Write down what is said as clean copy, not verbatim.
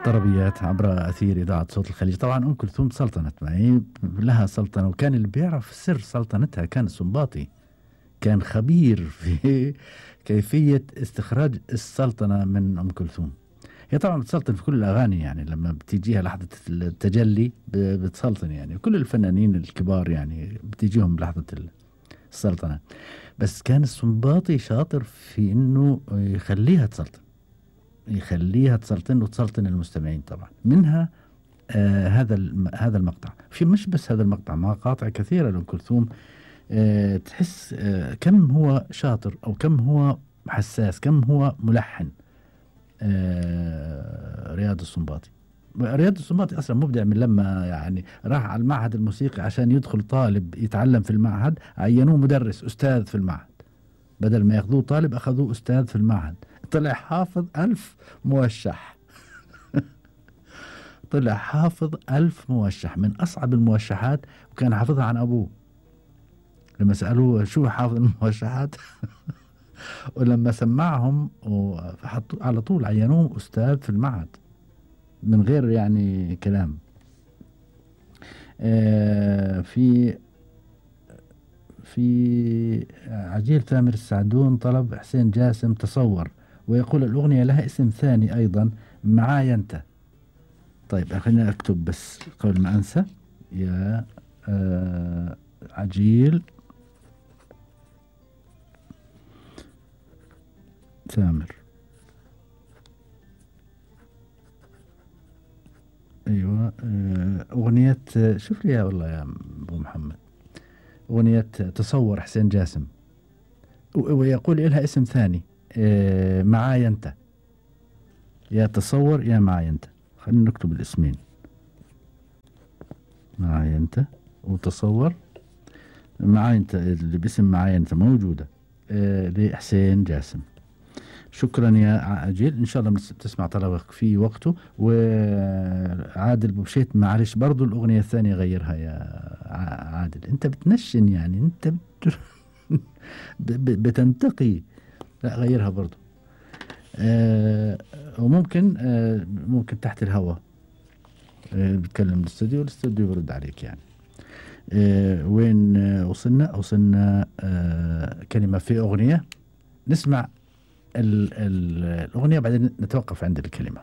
طربيات عبر أثير إذاعة صوت الخليج. طبعا أم كلثوم سلطنت معي، لها سلطنة، وكان اللي بيعرف سر سلطنتها كان السنباطي، كان خبير في كيفية استخراج السلطنة من أم كلثوم. هي طبعا بتسلطن في كل الأغاني، يعني لما بتيجيها لحظة التجلي بتسلطن، يعني كل الفنانين الكبار يعني بتيجيهم لحظة السلطنة. بس كان السنباطي شاطر في إنه يخليها تسلطن وتسلطن المستمعين. طبعا منها هذا المقطع، في مش بس هذا المقطع، مقاطع كثيرة لأم كلثوم. تحس كم هو شاطر، أو كم هو حساس، كم هو ملحن. رياض السنباطي. رياض السنباطي أصلا مبدع، من لما يعني راح على المعهد الموسيقي عشان يدخل طالب يتعلم في المعهد، عينوه مدرس أستاذ في المعهد، بدل ما ياخذوه طالب أخذوه أستاذ في المعهد. طلع حافظ 1000 موشح. طلع حافظ 1000 موشح من أصعب الموشحات، وكان حافظها عن أبوه. لما سألوه شو حافظ الموشحات ولما سمعهم وحطوا على طول عينوه أستاذ في المعهد من غير يعني كلام. في عجيل ثامر السعدون طلب حسين جاسم تصور، ويقول الأغنية لها اسم ثاني أيضا، معايا أنت. طيب خلينا أكتب بس قبل ما أنسى. يا عجيل ثامر، أيوة، أغنية شوف لي والله يا أبو محمد، أغنية تصور حسين جاسم، ويقول لها اسم ثاني، معايا أنت، يا تصور يا معايا أنت. خلينا نكتب الاسمين، معايا أنت وتصور. معايا أنت اللي باسم معايا أنت موجودة لحسين جاسم. شكرا يا عجيل، إن شاء الله بتسمع طلبك في وقته. وعادل بوشيت معلش برضو الأغنية الثانية غيرها يا عادل، أنت بتنشن يعني، أنت بتنتقي، لا غيرها برضو. وممكن ممكن تحت الهواء بتكلم الاستوديو بيرد عليك يعني. وين وصلنا كلمة في أغنية، نسمع الأغنية بعدين نتوقف عند الكلمة.